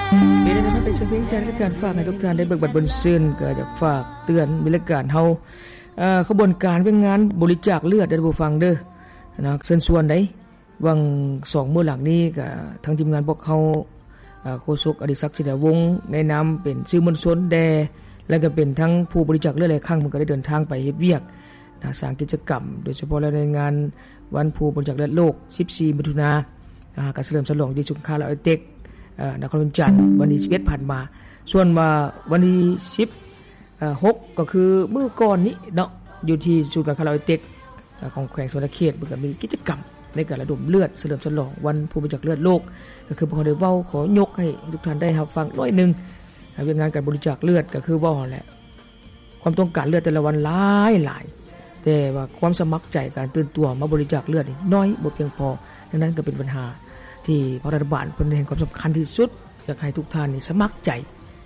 ເປັນແນວໃດ ໄປສະເພງຈັນ ການຝາກໃຫ້ທຸກທ່ານໄດ້ເບິ່ງບັດບົນຊື່ນ ກໍຢາກຝາກເຕືອນມີລາຍການເຮົາ ເອີ ຂະບວນການວຽກງານບໍລິຈາກເລືອດເດີ ທ່ານຜູ້ຟັງເດີ ນະ ເຊີນຊວນໃດ ຫວ່າງສອງມື້ຫຼັງນີ້ກໍທາງທີມງານພວກເຮົາ ເອີ ໂຄສົກ ອະດິສັກ ສີດາວົງ ໃນນາມເປັນສື່ມວນຊົນແດ່ ແລະກໍເປັນທັງຜູ້ບໍລິຈາກເລືອດຫຼາຍຄັ້ງ ເພິ່ນກໍໄດ້ເດີນທາງໄປເຮັດວຽກ ນະ ສ້າງກິດຈະກຳ ໂດຍສະເພາະແລ້ວໃນງານວັນຜູ້ບໍລິຈາກເລືອດໂລກ ສິບສີ່ ມິຖຸນາ ນະ ການສະເຫຼີມສະຫຼອງທີ່ສູນຄ້າລາວໄອເຕັກ ເອີ ນະຄອນວຽງຈັນ ວັນທີສິບເອັດຜ່ານມາ. ສ່ວນວ່າວັນທີສິບ ເອີ ຫົກ ກໍຄືມື້ກ່ອນນີ້ເນາະ ຢູ່ທີ່ສູນການຄ້າລາວໄອເຕັກ ເອີ ຂອງແຂວງສະຫວັນນະເຂດ ເພິ່ນກໍມີກິດຈະກຳໃນການລະດົມເລືອດສະເຫຼີມສະຫຼອງວັນຜູ້ບໍລິຈາກເລືອດໂລກ. ກໍຄືພວກເຮົາໄດ້ເວົ້າ ຂໍຍົກໃຫ້ທຸກທ່ານໄດ້ຮັບຟັງໜ້ອຍໜຶ່ງ ວຽກງານການບໍລິຈາກເລືອດ ກໍຄືເວົ້າຫັ້ນແຫຼະ ຄວາມຕ້ອງການເລືອດແຕ່ລະວັນຫຼາຍໆ ແຕ່ວ່າຄວາມສະໝັກໃຈການຕື່ນຕົວມາບໍລິຈາກເລືອດນີ້ໜ້ອຍ ບໍ່ພຽງພໍ. ດັ່ງນັ້ນກໍເປັນບັນຫາທີ່ພາກລັດຖະບານເພິ່ນໃຫ້ຄວາມສຳຄັນທີ່ສຸດ ຢາກໃຫ້ທຸກທ່ານນີ້ສະໝັກໃຈ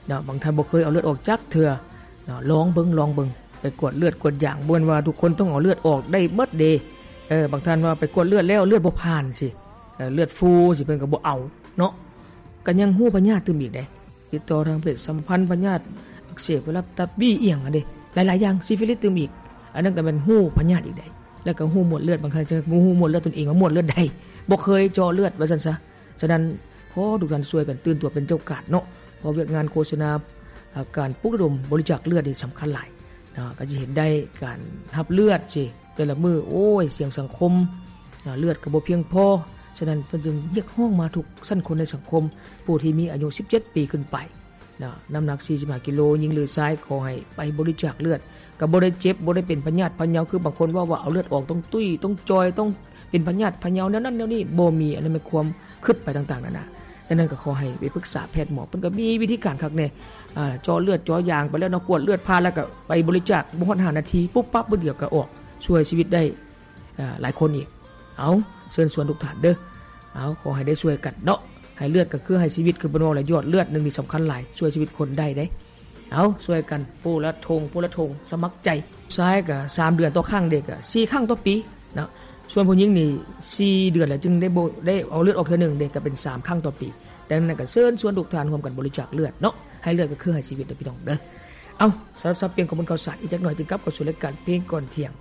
ເນາະ. ບາງທ່ານບໍ່ເຄີຍເອົາເລືອດອອກຈັກເທື່ອເນາະ ລອງເບິ່ງ ລອງເບິ່ງ ໄປກວດເລືອດກວດຢາງ ບໍ່ແມ່ນວ່າທຸກຄົນຕ້ອງເອົາເລືອດອອກໄດ້ໝົດເດ. ເອີ ບາງທ່ານວ່າໄປກວດເລືອດແລ້ວເລືອດບໍ່ຜ່ານຊີ້ ເອີ ເລືອດຟູຊີ້ ເພິ່ນກໍບໍ່ເອົາເນາະ ກໍຍັງຮູ້ພະຍາດຕື່ມອີກເດ້. ຕິດຕໍ່ທາງເພດສຳພັນ ພະຍາດອັກເສບໄວຣັສຕັບບີ ອີ່ຫຍັງຫັ້ນເດ້ ຫຼາຍໆຢ່າງ ຊີຟິລິດຕື່ມອີກ ອັນນັ້ນກໍແມ່ນຮູ້ພະຍາດອີກໃດ໋ ແລ້ວກໍຮູ້ໝວດເລືອດ ບາງທ່ານຈະບໍ່ຮູ້ໝວດເລືອດຕົນເອງວ່າໝວດເລືອດໃດ ບໍ່ເຄີຍເຈາະເລືອດວ່າຊັ້ນຊະ. ສະນັ້ນ ຂໍທຸກທ່ານຊ່ວຍກັນຕື່ນຕົວເປັນເຈົ້າການເນາະ ເພາະວຽກງານໂຄສະນາ ອາ ການປຸກລະດົມບໍລິຈາກເລືອດນີ້ສຳຄັນຫຼາຍເນາະ ກໍຈະເຫັນໄດ້ການຮັບເລືອດຊີ້ ແຕ່ລະມື້ ໂອ້ຍ ສຽງສັງຄົມ ເລືອດກໍບໍ່ພຽງພໍ. ສະນັ້ນເພິ່ນຈຶ່ງຮຽກຮ້ອງມາທຸກຊັ້ນຄົນໃນສັງຄົມ ຜູ້ທີ່ມີອາຍຸສິບເຈັດປີຂຶ້ນໄປເນາະ ນ້ຳໜັກສີ່ສິບຫ້າກິໂລ ຍິງຫຼືຊາຍ ຂໍໃຫ້ໄປບໍລິຈາກເລືອດ ກໍບໍ່ໄດ້ເຈັບ ບໍ່ໄດ້ເປັນພະຍາດພະເຍົາ ຄືບາງຄົນເວົ້າວ່າເອົາເລືອດອອກຕ້ອງຕຸ້ຍ ຕ້ອງຈ່ອຍ ຕ້ອງເປັນພະຍາດພະເຍົາ ແນວນັ້ນແນວນີ້ ບໍ່ມີ. ອັນນັ້ນແມ່ນຄວາມຄິດໄປຕ່າງໆນານາ. ດັ່ງນັ້ນກໍຂໍໃຫ້ໄປປຶກສາແພດໝໍ ເພິ່ນກໍມີວິທີການຄັກແນ່ ອາ ເຈາະເລືອດເຈາະຢາງໄປແລ້ວເນາະ ກວດເລືອດຜ່ານແລ້ວກໍໄປບໍລິຈາກ ບໍ່ຮອດຫ້ານາທີ ປຸບປັບບຶດດຽວກໍອອກ ຊ່ວຍຊີວິດໄດ້ ເອີ ຫຼາຍຄົນອີກ. ເອົາ ເຊີນຊວນທຸກທ່ານເດີ ເອົາ ຂໍໃຫ້ໄດ້ຊ່ວຍກັນເນາະ ໃຫ້ເລືອດກໍຄືໃຫ້ຊີວິດ ຄືເພິ່ນເວົ້າແຫຼະ ຢອດເລືອດໜຶ່ງນີ້ສຳຄັນຫຼາຍ ຊ່ວຍຊີວິດຄົນໄດ້ເດ້. ເອົາ ຊ່ວຍກັນ ຜູ້ລະຖົງ ຜູ້ລະຖົງ ສະໝັກໃຈ. ຊາຍກໍສາມເດືອນຕໍ່ຄັ້ງເດ້ ກໍສີ່ຄັ້ງຕໍ່ປີເນາະ ສ່ວນຜູ້ຍິງນີ້ສີ່ເດືອນແລ້ວຈຶ່ງໄດ້ບໍ່ ໄດ້ເອົາເລືອດອອກເທື່ອໜຶ່ງເດ້ ກໍເປັນສາມຄັ້ງຕໍ່ປີ. ດັ່ງນັ້ນກໍເຊີນຊວນທຸກທ່ານຮ່ວມກັນບໍລິຈາກເລືອດເນາະ ໃຫ້ເລືອດກໍຄືໃຫ້ຊີວິດເດີພີ່ນ້ອງເດີ. ເອົາ ສຳລັບສັບປ່ຽນຂໍ້ມູນຂ່າວສານ ອີກຈັກໜ້ອຍຈຶ່ງກັບເຂົ້າສູ່ລາຍການເພງກ່ອນທ່ຽງ.